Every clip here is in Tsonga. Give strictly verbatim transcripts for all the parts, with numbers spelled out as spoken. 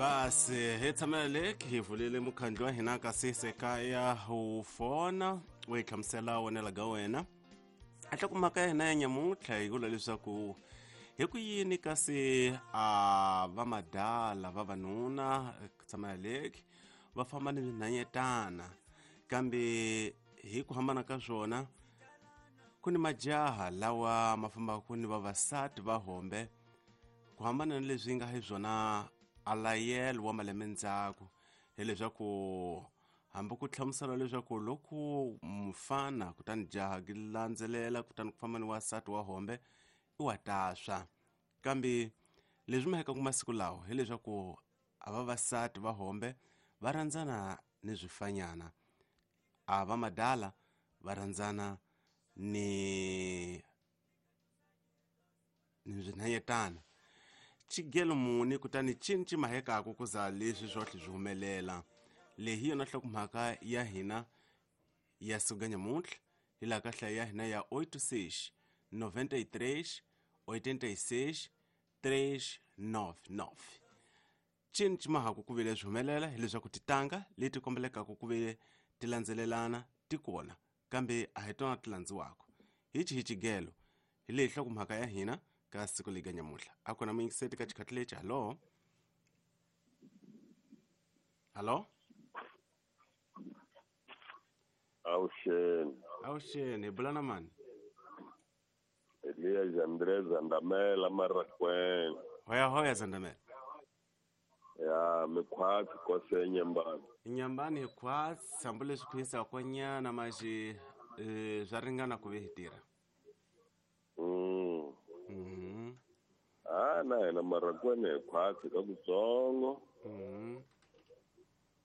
Basi hi tshamela leki hi vulele mukhandlu wa hina kasi sekaya wu fona u hi hlamusela wonela ga wena a tlakumaka ya hina ya nyamuntlha hi vula leswaku hi ku yini kasi a va madala vavanuna tshamela leki va famba ni minhanyetana kambe hi ku hambana ka swona ku ni majaha lawa ma fambaka ni vavasati va hombe ku hambana ni leswi nga hi swona alayelo wa malembe ndzhaku hileswaku hambi ku hlamusela leswaku loko mufana kutani jaha ki landzelela kutani ku famba ni wasati wa hombe i wa taswa kambe leswi mahekaku masiku lawa hileswaku a vavasati va hombe va rhandzana ni swifanyana a va madala va rhandzana ni ni swinhanyetana xigelo muni kutani cinci mahekaku ku za leswi swohle swi humelela leyi hi yona nhlokomhaka ya hina ya siku nyamuntlha hi laha ka hlaya ya hina ya oito seis noventa e três oitenta e seis três nove nove cinci mahaku ku vile swi humelela hileswaku titanga leti kombelekaka ku ve ti landzelelana ti kona kambe a hi tona ti landziwaka hi xihi xigelo hi leyi nhlokomhaka ya hina ka siku lega nyamuntlha a ku na muyingiseti ka xikhathi lexi hallo hallo Awuxeni. Awuxeni, hi bula na mani? Elias Andrés Zandamela Marakwena. Hoya hoya Zandamela. Ya mikhwatsi kose Nyambani. Nyambani hikhwatsi hambi leswi ku hisaka nyana maxi eh, swa ringana ku ve hi tirha. Mm. Mhm. Ah na hina Marakwena hi khwatsi ka kutsongo. Mhm.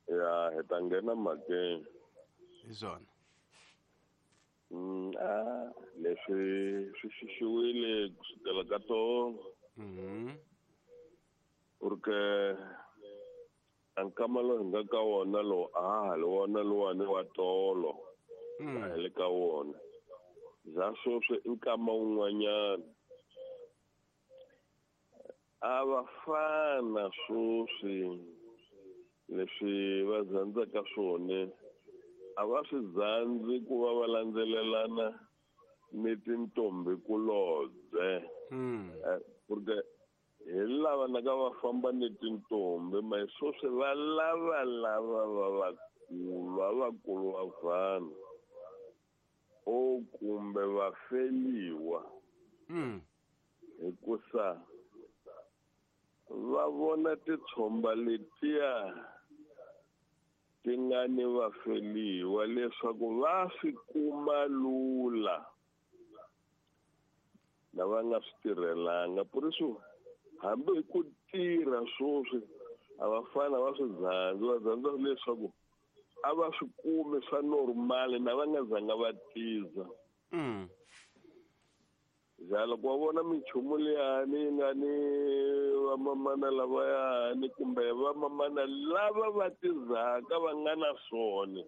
Ya hi ta nghena mhakeni. Hi swona. Mm, ah leswi swi xixiwile kusukela ka tolo. Mhm. Porque a nkama lowu hi nga ka wona lowu a ha ha ri wona luwani wa tolo. Mm. A hi le ka wona. Bya sweswi i nkama wun'wanyana. A va fana sweswi leswi va dzandzaka swona a va swi dzandzi ku va va landzelelana ni tintombi kulobye. Mm. Eh, porque hi lava na ka va famba ni tintombi ma sweswi va lava lava va vakulu va vakulu va vanhu o kumbe va feliwa Mm. hikusa va vona titshomba letiya ti nga ni vafeliwa leswaku va swi kuma lula na va nga swi tirhelanga por isso hambi hi ku tirha sweswi a va fana va swi dzandzi va dzandza leswaku a va swi kumi swa normal na va nga zanga va tiza. Mm. Ja loko va vona minchumu liyani yi nga ni vamamana lavayani kumbe vamamana lava va tizaka va nga na swona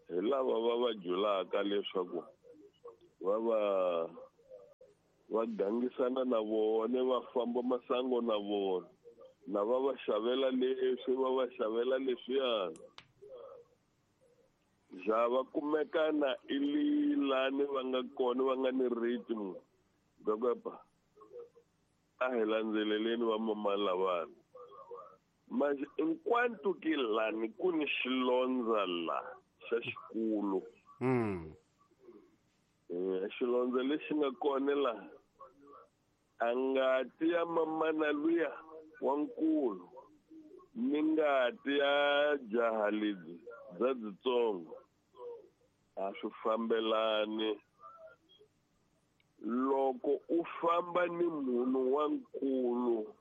hi lava va va julaka leswaku va va va gangisana na vona va famba masango na vona na va va xavela leswi va va xavela leswiyani. Ja va kumeka na ililani va nga kona va nga ni rhythm gagapa a hi landzeleleni va mama lavana manje enquanto que lani ku ni xilondza la xa xikulu. Mm. Eh, xilondza lexi nga kona la a ngati ya mamana luya wa nkulu ni ngati ya jaha lebyi bya byitsongo a swi fambelani. Loko u famba ni munhu wa nkulu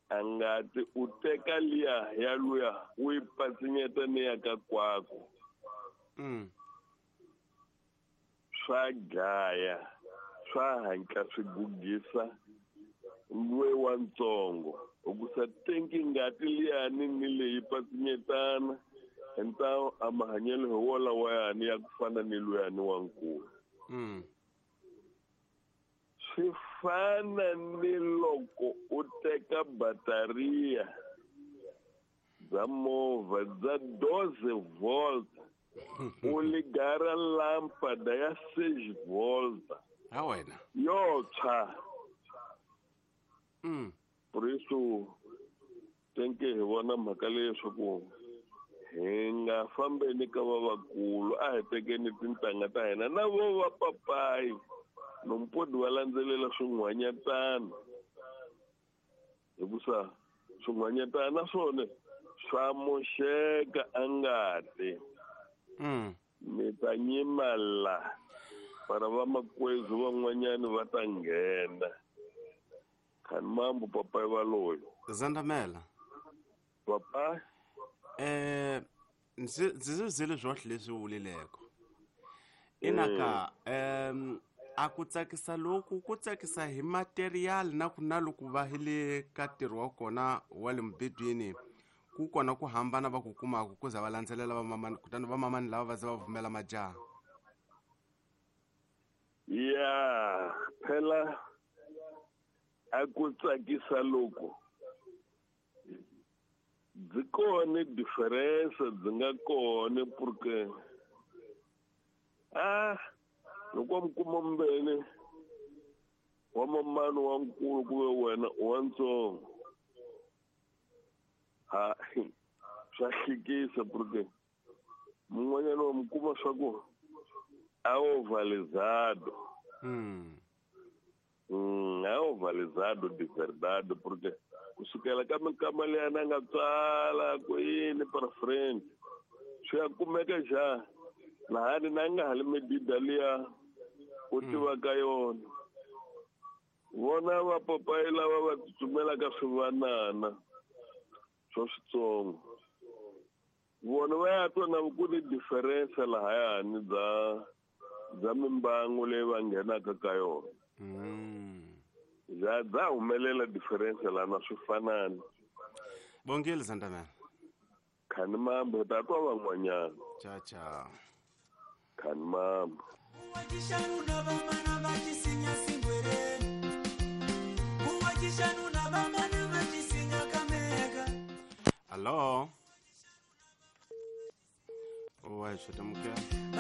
a ngati u teka liya ya luya u yi patsinyeta ni ya ka kwako. Mm. Swa dlaya swa hatla swi gugisa lwe wa ntsongo hikusa tenki ngati liyani ni leyi patsinyetana então a mahanyelo hi wona wayani ya ku fana ni luyani wa nkulu. Mm. Swi fana ni loko u teka batariya bya movha bya doze volt u ligara lampada ya six volt Ha wena. Yo tshwa. Mm. Por isso tenke hi vona mhaka leswaku hi nga fambeni ka vavakulu a hi tekeni tintangha ta hina na vo va papayi nompodi va landzelela swin'wanyatana hikusa swin'wanyatana naswona swa moxeka a ngati. Mm. Mi ta nyima la para vamakwezu van'wanyani va ta nghena. Khani mambo papayi va loyi. Zandamela. Papa. Eh ndzi ndzi zile zwohle leswi vulileko. Inaka em a ku tsakisa loku ku tsakisa hi material na ku na loko va hile ka ntirho wa kona wa le mubedweni ku kona ku hambana va ku kumaka ku za va landzelela va mamani kutani va mamani lava va za va vumela majaha. Ya phela a ku tsakisa loko byi kona difference byi nga kona porque ah loko mi kuma mbene wa mamani wa nkulu ku ve wena wa ntsongo ha swa hlekisa porque mun'wanyana wa mi kuma swa ku a wo valizado. Mm. Mm, a wo valizado de verdade porque kusukela ka minkama leyi a nga tswala ku yini para frente swi ya kumeka xa lahani na nga ha le medida liya u tiva ka yona. Vona vapapayi lava va tsutsumelaka swivanana swa switsongo vona va ya twa na ku ni difference lahayani bya bya mimbangu leyi va nghenaka ka yona. Mm. Bya bya humelela difference lana swi fanana. Bongile Zandamela. Khani mambo ta twa van'wanyana. Cha cha. Khani mambo. Hello. Wa xota mukela.